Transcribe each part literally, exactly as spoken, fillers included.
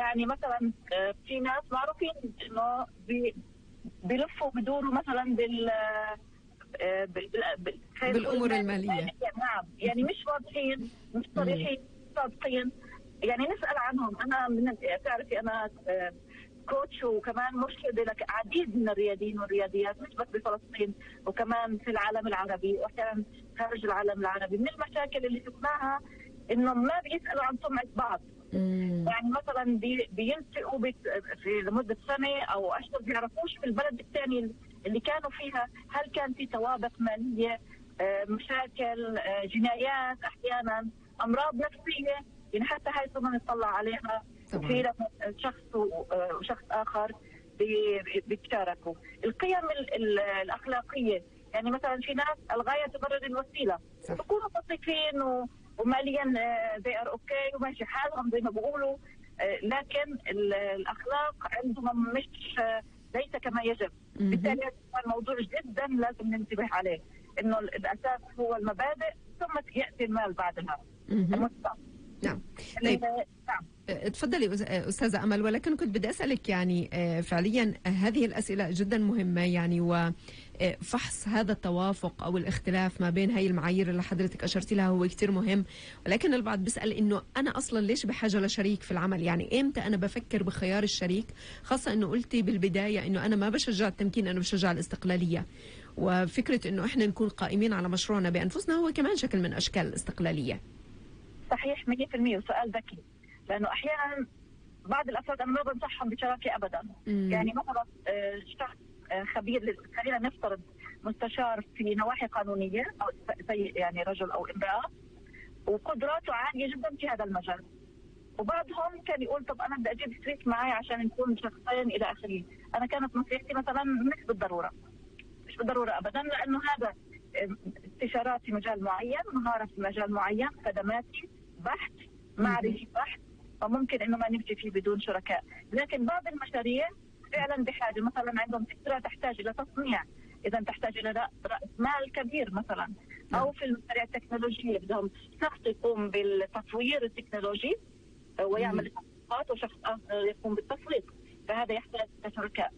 يعني مثلا في ناس معروفين انه بي بيلفوا بدوروا مثلا بال بالامور الماليه. نعم، يعني مش واضحين، مش صريحين، صادقين. يعني نسال عنهم. انا من تعرفي انا كوتش وكمان مرشده لك عديد من الرياضيين والرياضيات، مش بس بفلسطين وكمان في العالم العربي واحيانا خارج العالم العربي. من المشاكل اللي شفناها انه ما بيسالوا عن سمعه بعض. مم. يعني مثلا بي بيلتقوا في لمده سنه او اشهر بيعرفوش في البلد الثاني اللي كانوا فيها هل كان في توابق ماليه، مشاكل، جنايات، احيانا امراض نفسيه. يعني حتى هاي صرنا نطلع عليها في شخص وشخص اخر بيتشاركوا. القيم الاخلاقيه، يعني مثلا في ناس الغايه تبرر الوسيله، بيكونوا متفقين وماليا they are okay وماشي حالهم زي ما بيقولوا، لكن الاخلاق عندهم مش ليس كما يجب. بالتالي الموضوع جدا لازم ننتبه عليه، انه الاساس هو المبادئ ثم ياتي المال بعدها. نعم. طيب. نعم. تفضلي أستاذة أمل، ولكن كنت بدي أسألك يعني فعليا هذه الأسئلة جدا مهمة، يعني وفحص هذا التوافق أو الاختلاف ما بين هاي المعايير اللي حضرتك أشرتي لها هو كتير مهم. ولكن البعض بيسأل إنه أنا أصلا ليش بحاجة لشريك في العمل؟ يعني إمتى أنا بفكر بخيار الشريك؟ خاصة إنه قلتي بالبداية إنه أنا ما بشجع التمكين، أنا بشجع الاستقلالية. وفكرة إنه إحنا نكون قائمين على مشروعنا بأنفسنا هو كمان شكل من أشكال الاستقلالية. صحيح مية بالمية، وسؤال ذكي، لأنه أحيانا بعض الأفراد أنا ما بنصحهم بشراكة أبدا. مم. يعني مثلا شخص خبير، خلينا نفترض مستشار في نواحي قانونية أو يعني رجل أو امرأة وقدراته عالية جدا في هذا المجال، وبعضهم كان يقول طب أنا بدي أجيب شريك معي عشان نكون شخصين إلى آخره. أنا كانت نصيحتي مثلا مش بالضرورة، مش بالضرورة أبدا، لأنه هذا استشارات في مجال معين، مهارة في مجال معين، خدماتي بحث، معرفي بحث، فممكن انه ما نمشي فيه بدون شركاء. لكن بعض المشاريع فعلا بحاجه، مثلا عندهم فكره تحتاج الى تصنيع، اذا تحتاج الى راس مال كبير مثلا، او في المشاريع التكنولوجيه بدهم شخص يقوم بالتطوير التكنولوجي ويعمل التطبيقات وشخص اخر يقوم بالتسويق، فهذا يحتاج شركاء.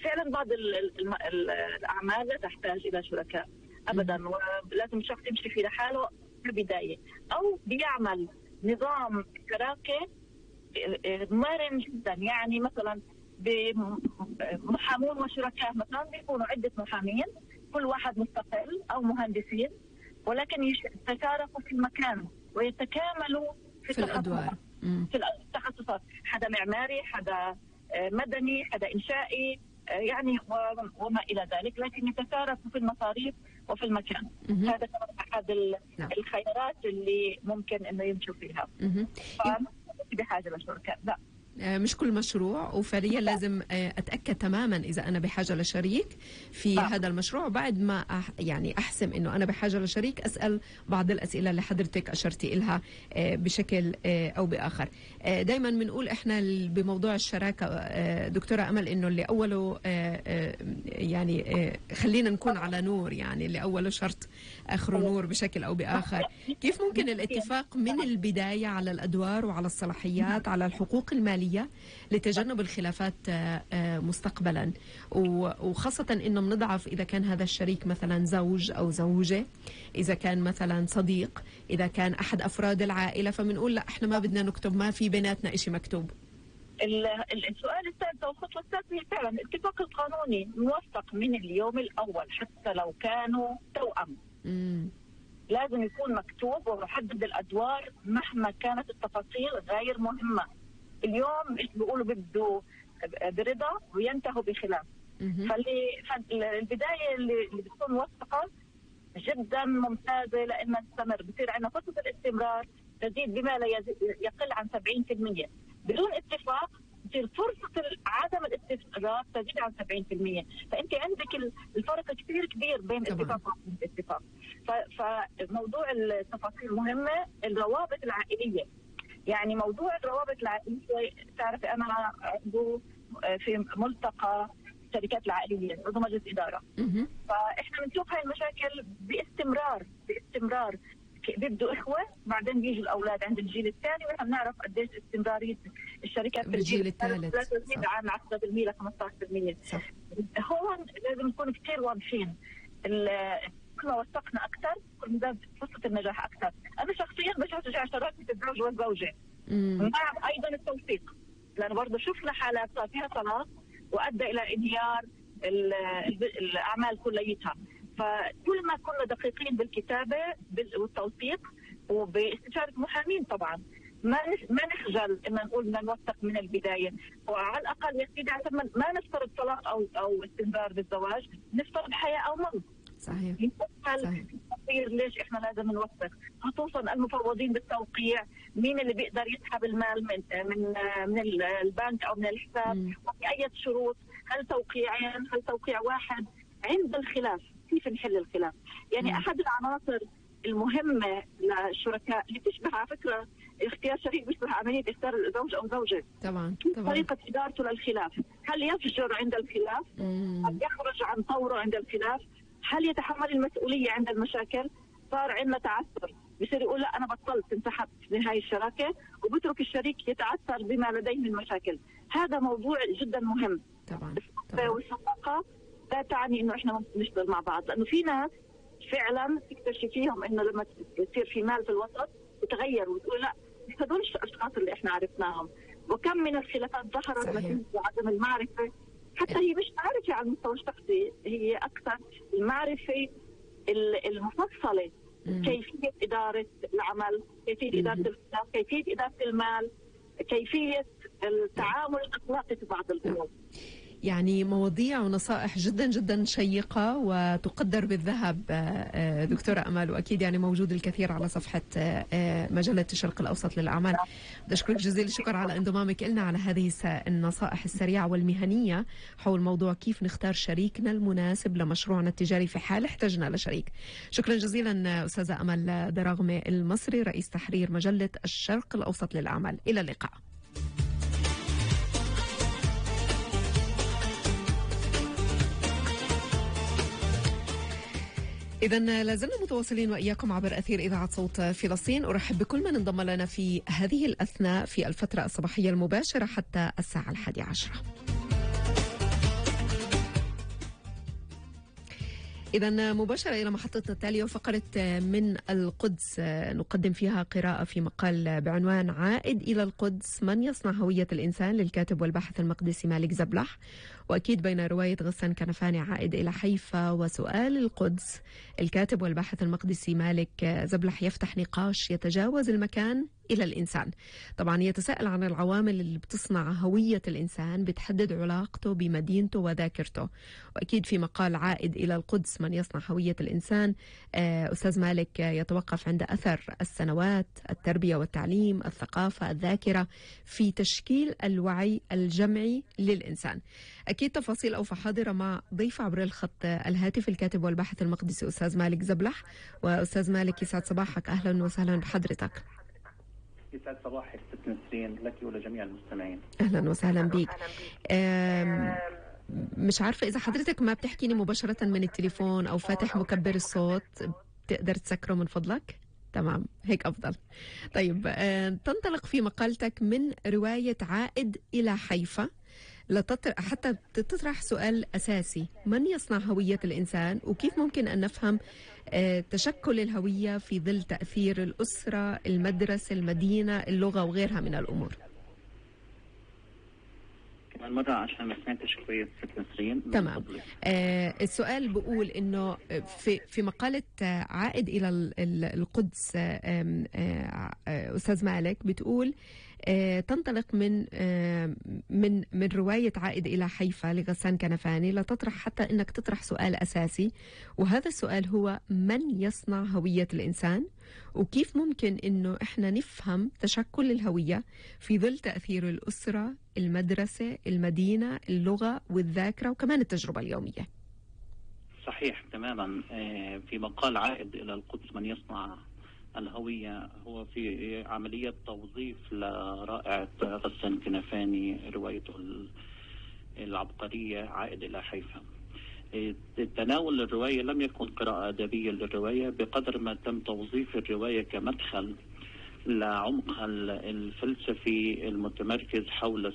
فعلا بعض الاعمال لا تحتاج الى شركاء ابدا، ولازم الشخص يمشي في لحاله في البدايه، او بيعمل نظام شراكه مرن جدا. يعني مثلا بمحامون وشركاء مثلا بيكونوا عده محامين كل واحد مستقل او مهندسين، ولكن يتشاركوا في المكان ويتكاملوا في, في الادوار، في التخصصات، حدا معماري، حدا مدني، حدا انشائي، يعني وما الى ذلك، لكن يتشاركوا في المصاريف وفي المكان. مم. هذا كمان احد الخيارات اللي ممكن انه يمشوا فيها. بحاجه لشركاء، لا مش كل مشروع، وفعليا لازم اتاكد تماما اذا انا بحاجه لشريك في آه. هذا المشروع. بعد ما أح يعني احسم انه انا بحاجه لشريك، اسال بعض الاسئله اللي حضرتك اشرتي لها بشكل او باخر. دائما بنقول احنا بموضوع الشراكه دكتوره امل انه اللي اوله يعني خلينا نكون على نور، يعني اللي اوله شرط اخره نور بشكل او باخر. كيف ممكن الاتفاق من البدايه على الادوار وعلى الصلاحيات على الحقوق الماليه لتجنب الخلافات مستقبلا، وخاصة انه بنضعف اذا كان هذا الشريك مثلا زوج او زوجة، اذا كان مثلا صديق، اذا كان احد افراد العائلة، فبنقول لا احنا ما بدنا نكتب، ما في بيناتنا اشي مكتوب. السؤال الثالث او الخطوة الثالثة هي فعلا الاتفاق القانوني موثق من اليوم الاول، حتى لو كانوا توأم. مم. لازم يكون مكتوب ومحدد الادوار مهما كانت التفاصيل غير مهمة. اليوم ايش بيقولوا بده برضا وينتهوا بخلاف. فاللي فالبدايه اللي, اللي بتكون موثقه جدا ممتازه لانها تستمر، بصير عندنا فرصه الاستمرار تزيد بما لا يقل عن سبعين بالمئة. بدون اتفاق بصير فرصه عدم الاستمرار تزيد عن سبعين بالمئة. فانت عندك الفرق كثير كبير بين الاتفاق والاتفاق. فموضوع التفاصيل مهمه. الروابط العائليه، يعني موضوع الروابط العائلية، تعرفي أنا عضو في ملتقى الشركات العائلية، عضو مجلس إدارة. فإحنا بنشوف هاي المشاكل باستمرار باستمرار بيبدوا إخوة بعدين بيجوا الأولاد عند الجيل الثاني، ونحن بنعرف قديش استمرارية الشركات في الجيل الثالث عن عشرة بالمئة ل خمسة عشر بالمئة. هون لازم نكون كثير واضحين، كل ما وثقنا أكثر كل ما زاد فرصة النجاح أكثر. أنا شخصيا بشجع شراكة الزوج والزوجة مع أيضا التوثيق، لأن برضه شفنا حالات صار فيها طلاق وأدى إلى انهيار الأعمال كليتها. فكل ما كنا دقيقين بالكتابة والتوثيق وباستشارة محامين طبعا، ما ما نخجل ان نقول بدنا نوثق من البدايه، وعلى الاقل يا سيدي عشان ما نفترض طلاق او او استنزار بالزواج، نفترض حياه او موت. صحيح. صحيح. ليش احنا لازم نوثق؟ خصوصا المفوضين بالتوقيع، مين اللي بيقدر يسحب المال من من من البنك او من الحساب، وفي اي شروط، هل توقيعين، هل توقيع واحد، عند الخلاف كيف نحل الخلاف؟ يعني مم. احد العناصر المهمه للشركاء اللي تشبه على فكره اختيار شريك بيشبه عمليه اختيار زوج او زوجه. طبعا طبعا. طريقه ادارته للخلاف، هل يفجر عند الخلاف؟ مم. هل يخرج عن طوره عند الخلاف؟ هل يتحمل المسؤوليه عند المشاكل؟ صار عندنا تعثر، بصير يقول لا انا بطلت انسحبت من هاي الشراكه، وبترك الشريك يتعثر بما لديه من مشاكل. هذا موضوع جدا مهم. طبعا. طبعا. والصداقه لا تعني انه احنا نشتغل مع بعض، لانه في ناس فعلا تكتشفيهم انه لما يصير في مال في الوسط يتغير وتقول لا مش هدول الاشخاص اللي احنا عرفناهم. وكم من الخلافات ظهرت نتيجه عدم المعرفه، حتى هي مش معرفه على المستوى الشخصي، هي اكثر المعرفه المفصله، كيفيه اداره العمل، كيفيه اداره الخلاف، كيفيه اداره المال، كيفيه التعامل الاخلاقي في بعض الامور. يعني مواضيع ونصائح جدا جدا شيقة وتقدر بالذهب دكتورة أمال، وأكيد يعني موجود الكثير على صفحة مجلة الشرق الأوسط للأعمال. بدي أشكرك جزيل الشكر على انضمامك لنا على هذه النصائح السريعة والمهنية حول موضوع كيف نختار شريكنا المناسب لمشروعنا التجاري في حال احتجنا لشريك. شكرا جزيلا أستاذة أمال دراغمة المصري، رئيس تحرير مجلة الشرق الأوسط للأعمال. إلى اللقاء. إذا لازلنا متواصلين وإياكم عبر أثير إذاعة صوت فلسطين. أرحب بكل من انضم لنا في هذه الأثناء في الفترة الصباحية المباشرة حتى الساعة الحادية عشرة. إذا مباشرة إلى محطتنا التالية وفقرة من القدس نقدم فيها قراءة في مقال بعنوان عائد إلى القدس، من يصنع هوية الإنسان للكاتب والباحث المقدسي مالك زبلح. وأكيد بين رواية غسان كنفاني عائد إلى حيفا وسؤال القدس، الكاتب والباحث المقدسي مالك زبلح يفتح نقاش يتجاوز المكان إلى الإنسان. طبعا يتساءل عن العوامل اللي بتصنع هوية الإنسان، بتحدد علاقته بمدينته وذاكرته. وأكيد في مقال عائد إلى القدس من يصنع هوية الإنسان، أستاذ مالك يتوقف عند أثر السنوات، التربية والتعليم، الثقافة، الذاكرة في تشكيل الوعي الجمعي للإنسان. أكيد تفاصيل أوفى حاضرة مع ضيف عبر الخط الهاتف الكاتب والباحث المقدسي أستاذ مالك زبلح. وأستاذ مالك يسعد صباحك، أهلا وسهلا بحضرتك. يسعد صباحك ست نسرين لك ولجميع المستمعين. أهلا وسهلا بك. مش عارفة إذا حضرتك ما بتحكيني مباشرة من التليفون أو فاتح مكبر الصوت، بتقدر تسكره من فضلك؟ تمام، هيك أفضل. طيب، تنطلق في مقالتك من رواية عائد إلى حيفا لتطرح حتى تطرح سؤال أساسي: من يصنع هوية الإنسان؟ وكيف ممكن أن نفهم تشكل الهوية في ظل تأثير الأسرة، المدرسة، المدينة، اللغة وغيرها من الأمور؟ كمان مرة عشان ما سمعتش كويس ست نسرين. تمام. آه السؤال بقول إنه في في مقالة عائد إلى القدس آه آه أستاذ مالك بتقول آه تنطلق من آه من من رواية عائد إلى حيفا لغسان كنفاني لتطرح حتى إنك تطرح سؤال أساسي، وهذا السؤال هو: من يصنع هوية الإنسان؟ وكيف ممكن إنه إحنا نفهم تشكل الهوية في ظل تأثير الأسرة، المدرسة، المدينة، اللغة والذاكرة وكمان التجربة اليومية. صحيح تماما. في مقال عائد إلى القدس من يصنع الهوية هو في عملية توظيف لرائعة غسان كنفاني روايته العبقرية عائد إلى حيفا. تناول الرواية لم يكن قراءة أدبية للرواية بقدر ما تم توظيف الرواية كمدخل لعمقها الفلسفي المتمركز حول